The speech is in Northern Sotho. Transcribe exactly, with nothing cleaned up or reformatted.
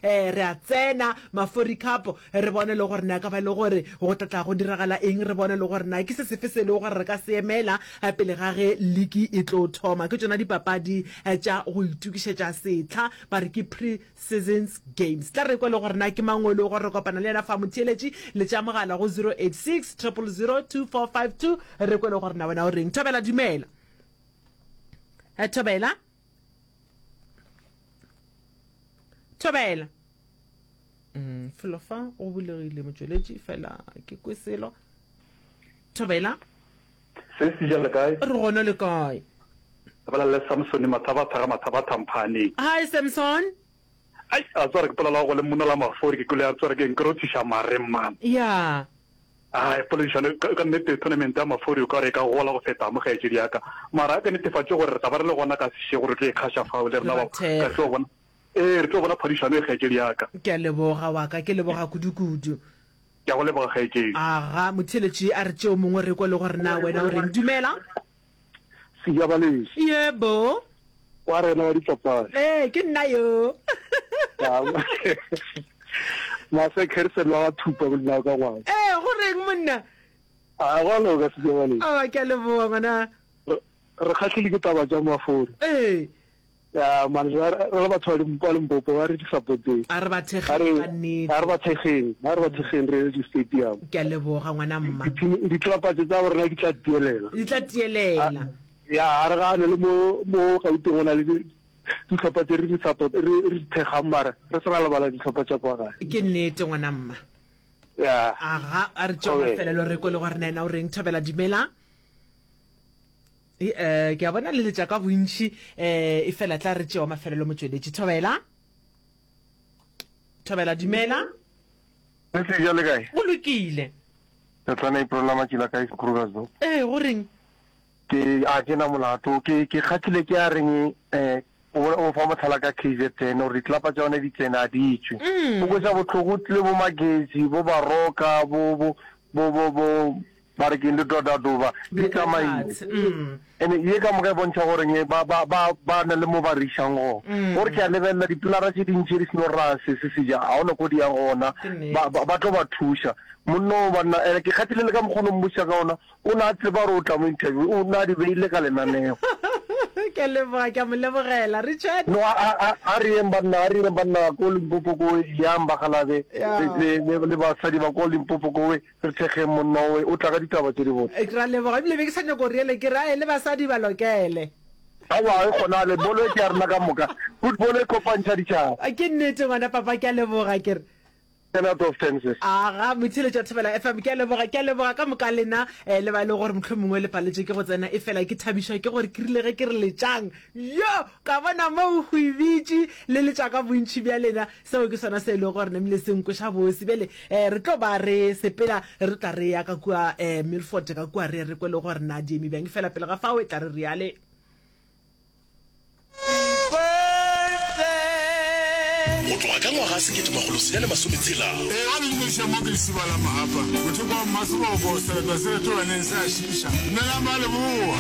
Eh, re a tsena Mafori Cup, re bone le gore na ka ba le gore go tla tla go diragala eng, re bone le gore na ke se sefe se e lego gore re ka se emela eh, pele ga ge liki e tlo thoma. Ke tšona dipapadi eh, tša go itokišetša setlha, ba re ke pre-seasons games. Tla re kwe le gore na ke mang o e lego gore re kopana le yena fa motheeletši, letša mogala go zero eight six triple zero two four five two, re kwe le gore na wena o reng. Thobela, dumela. Eh, Thobela. Thobela. Mm, felo fa go bulegile motšweletši fela ke kwe selo. Thobela. Se se ja le kae? Re gona le kae? Re bolela le Samson Mathabatha ga Mathabatha Mphaneng. Hi Samson. Ai, a tsware ke polela go le monna la mafori ke kwele a tsware ke nkrothiša mare man. Ya. Ai, poledišano ka, ka nnete tournament ya mafori o ka re e ka gola go feta mo kgaetšedi ya ka. Mara a ke netefatše gore re tla ba re le gona ka sešego re tlo ikgaša fao le Re rena ba ba ka thekga. tlo bona. Ee, re tlo bona phadišano e kgaetšedi ya ka. Ke a leboga wa ka, ke leboga kudu-kudu. Ke a go leboga kgaetšedi. Aga, motheeletši a re tšeo mongwe re kwe le gore na wena o reng. Dumela. Sejabaleši. Yebo. Wa rena wa dipapadi. Ee, ke nna yo. Mase Kerson wa ga Thupa monna wa ka ngwana. Ee, go reng monna? A go a loka Sejabaleši. Aowa, ke a leboga ngwana. Re, re kgahlile ke taba tša Mafori. Ee. Ya, man, re, re le batho ba Lim-, ba Limpopo, ba re di supporteng. A re ba A thekgeng re, ka nnete. a re ba thekgeng, a re ba thekgeng re ye di-stadium. Ke a leboga ngwana mma. Di-team, ditlelapa tše tsa borena di tla tielela. Di tla tielela. A, ya, a re gane le mo, mo Gauteng go na le di, dihlopha tše re di support, re, re di thekgang mara re se ra lebala dihlopha tša kwa gae. Ke nnete ngwana mma. Ya. Aga, a re tšeo Thobela. mafelelo re kwe le gore na yena o reng. Thobela, dumela. E, eh, ke a bona le letša ka bontši, eh, e fela tla re tšewa mafelelo motšweletši. Thobela. Thobela, dumela. Le se ja le kae? Go lokile. Re tlana April la matšila kae Krugersdorp. Ee, go reng? Ke a ke na molato, ke ke kgathile ke a reng eh o o fa mohlala ka K Z N gore ditlelapa tša yona di tsene a di tšwe. O kweša bohloko tlile bo Magezi, bo Baroka, bo bo bo bo bo ba re keng le Dodadoba di tsamaile. Ene ye ka moka e bontšha gore nge ba ba ba ba na le mo ba re išang gona. Gore ke a lebelela dipilara tše dintši di seno ra se se se ja, ga gona ko di yang gona. Ba ba ba tlo ba thuša. Monna o banna ene ke kgathile le ka mokgwa o no mmotšiša ka ona, o na a tseba gore o tla mo interview, o na di beile ka lenaneo. Ke a leboga, ke a mo lebogela Richard. No a a a a re yeng banna, a re yeng banna ko Limpopo kowe, yang bakgalabe le le le basadi ba ko Limpopo kowe. Re thekgeng monna owe, o tla ka ditaba tše dibotse. Ke ra leboga, ebile be ke sa nyako go reele ke re ae le basadi ba lokele. Aowa e kgonagale, bolo e ke ya rena ka moka. Football e kopantšha ditšhaba. Ke nnete ngwana papa, ke a leboga ke re. Ten out of ten sis. Aga, motheeletši wa Thobela F M, ke a leboga, ke a leboga ka moka lena eh, le ba e lego gore mohlomongwe le paletšwe ke go tsena, efela ke thabišwa ke gore ke rile ge ke re letšang, yo, ka bona mo o hwibitše le letša ka bontši bja lena, seo ke sona se e lego gore namile se nkweša bose. Bjale eh, re tlo ba re sepela, re tla re ya ka kua eh, Milford ka kua re re kwe le gore na di eme bjang, efela pele ga fao e tla re riale. Go tloga ka ngwaga sekete makgolo senyane masome tshela. Ee, ba le dumediša mo ke Lesiba la Mahapa, mothoko wa Mmaseboko, sereto se retolaneng se a šiiša. Dumelang ba Leboa.